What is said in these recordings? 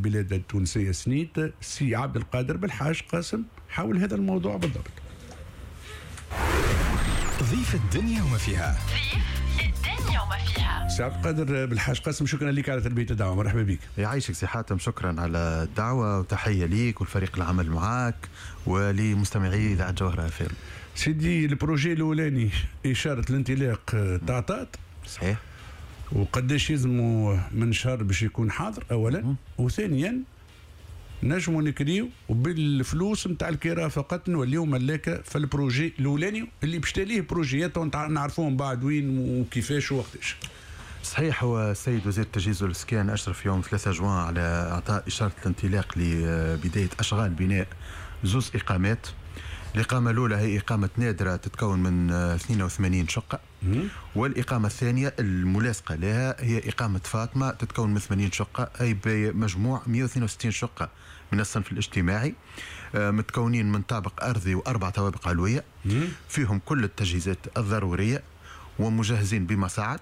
البلاد التونسية سنيت سي عبد القادر بالحاج قاسم حول هذا الموضوع بالضبط. ضيف الدنيا وما فيها. ضيف الدنيا وما فيها. سي عبد القادر بالحاج قاسم، شكرا لك على تلبية الدعوة، مرحبا بك. يعيشك سي حاتم، شكرا على الدعوة وتحية ليك والفريق العمل معاك ولمستمعي إذاعة جوهرة أف ام. سيدي، ال projet الأولاني إشارة الانطلاق تعطات. صحيح. وقداش يلزموا من شهر باش يكون حاضر أولا، وثانيا نجموا نكريو وبالفلوس نتاع الكراء فقط نوليو ملاكه في ال projet الاولاني اللي باش تليه projet ات نعرفوهم بعد وين وكيفاش ووقتاش. صحيح، هو السيد وزير التجهيز والاسكان اشرف يوم 3 جوان على اعطاء اشارة الانطلاق لبداية اشغال بناء زوز اقامات. الإقامة الأولى هي إقامة نادرة تتكون من 82 شقة، والإقامة الثانية الملاصقة لها هي إقامة فاطمة تتكون من 80 شقة، أي بمجموع 162 شقة من الصنف الاجتماعي، متكونين من طابق أرضي وأربع طوابق علوية، فيهم كل التجهيزات الضرورية ومجهزين بمصاعد،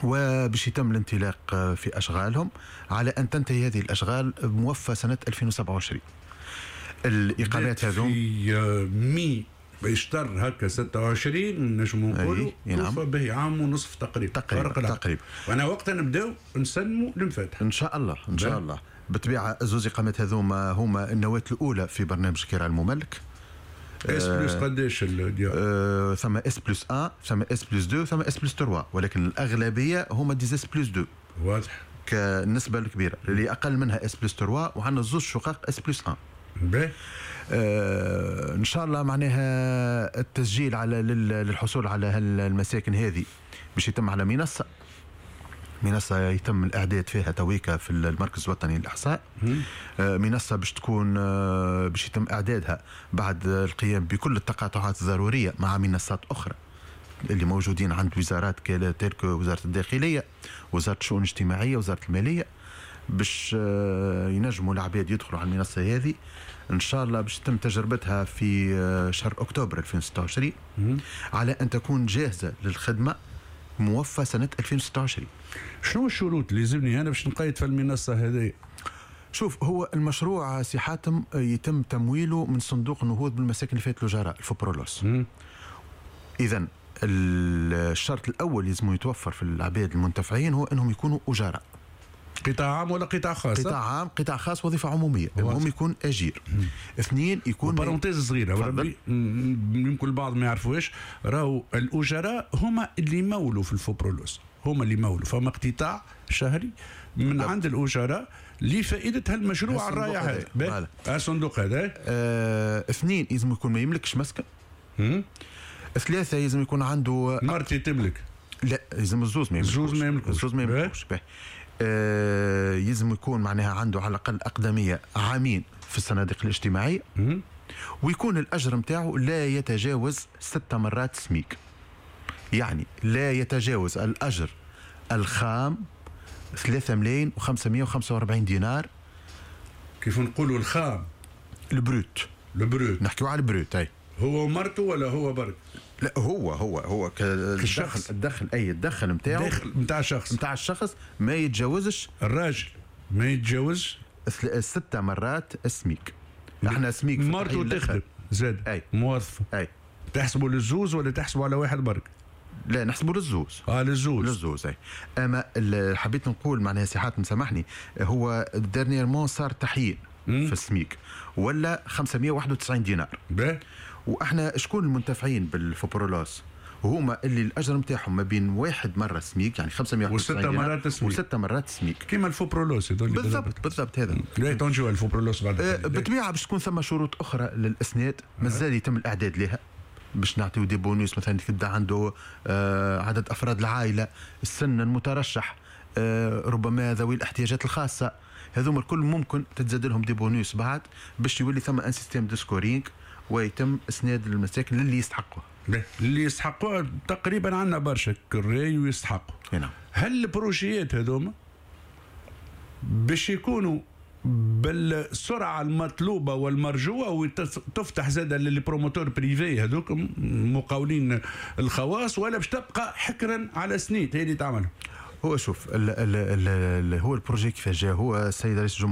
وباش يتم الانطلاق في أشغالهم على أن تنتهي هذه الأشغال موفى سنة 2027. الاقامات هذوم في مي بيشتر هكا 26 نجموا نقولوا. نعم. به عام ونصف تقريبا. تقريبا تقريبا. وانا وقتها نبداو نسلموا المفاتح. ان شاء الله، ان شاء الله. بالطبيعة زوز اقامات هذوما هما النواة الاولى في برنامج كراء المملك. S plus قداش الديار؟ ثم S plus 1، ثم S plus 2، ثم S plus 3، ولكن الاغلبية هما des S plus 2. واضح. كالنسبه الكبيرة اللي اقل منها S plus 3، وعندنا زوج شقق S plus 1. باهي. ان شاء الله معناها التسجيل على للحصول على المساكن هذه باش يتم على منصة يتم الإعداد فيها تويكا في المركز الوطني للإحصاء. منصة باش تكون باش يتم إعدادها بعد القيام بكل التقاطعات الضرورية مع منصات أخرى اللي موجودين عند وزارات telles que وزارة الداخلية، وزارة الشؤون الاجتماعية، وزارة المالية، باش ينجموا العباد يدخلوا على المنصة هذه. إن شاء الله باش تتم تجربتها في شهر أكتوبر 2026 على أن تكون جاهزة للخدمة موفى سنة 2026. شنو الشروط اللي يلزمني أنا باش نقيد في المنصة هذه؟ شوف، هو المشروع سي حاتم يتم تمويله من صندوق النهوض بالمساكن لفائدة الأجراء، الفوبرولوس. إذا الشرط الأول لازم يتوفر في العباد المنتفعين هو أنهم يكونوا أجراء. قطاع عام ولا قطاع خاص؟ قطاع عام، قطاع خاص، وظيفة عمومية، المهم يكون أجير. اثنين يكون parenthèse صغيرة وربي يمكن البعض ما يعرفوش، راهو الأجراء هما اللي يمولوا في الفوبرولوس، هما اللي يمولوا، فما اقتطاع شهري من عند الأجراء لفائدة هالمشروع الرائع هذا، الصندوق هذا. اثنين لازم يكون ما يملكش مسكن. ثلاثة لازم يكون عنده مرتي تملك. لا، لازم الزوز ما يملكوش. الزوز ما يملكوش. الزوز ما يملكوش. يلزم يكون معناها عنده على الأقل أقدمية عامين في الصناديق الاجتماعية، ويكون الأجر نتاعو لا يتجاوز 6 مرات سميك، يعني لا يتجاوز الأجر الخام 3 ملايين و545 دينار. كيف نقولوا الخام؟ ال brut. ال brut. نحكيو على ال brut. أي. هو ومرته ولا هو برك؟ لا، هو كالشخص. الدخل، اي الدخل نتاعو. الدخل نتاع الشخص. نتاع الشخص ما يتجاوزش. الراجل ما يتجاوزش 6 مرات السميك. احنا سميك في مرته التحليل تخدم زاد. اي. موظفة. اي. تحسبوا للزوز ولا تحسبوا على واحد برك؟ لا، نحسبوا للزوز. للزوز. للزوز، اي. اما حبيت نقول معناها سي حاتم سامحني، هو dernièrement صار تحيين في السميك ولا 591 دينار. باهي. واحنا شكون المنتفعين بالفوبرولوس؟ هما اللي الاجر نتاعهم ما بين واحد مرة سميك، يعني 591 وستة دينار مرات سميك. وستة مرات سميك. كيما الفوبرولوس هذول. بالضبط بالضبط هذا. لا، تنجو الفوبرولوس بعد. بالطبيعة باش تكون ثم شروط اخرى للاسناد مازال يتم الاعداد لها باش نعطيو des bonus، مثلا تبدا عنده عدد افراد العائله، السن المترشح، ربما ذوي الاحتياجات الخاصه، هذوما الكل ممكن تتزاد لهم des bonus بعد باش يولي ثم un système de scoring ويتم اسناد المساكن للي يستحقوها. اللي يستحقوها تقريبا عندنا برشا كراي ويستحقوا. نعم. هل ال projet ات هذوما باش يكونوا بالسرعة المطلوبة والمرجوه وتفتح زاد لل promoteurs privés هذوك مقاولين الخواص، ولا باش تبقى حكرا على سنيت هي اللي تعملها؟ هو شوف ال ال ال ال هو ال projet كيفاش جا، هو السيد رئيس الجمهورية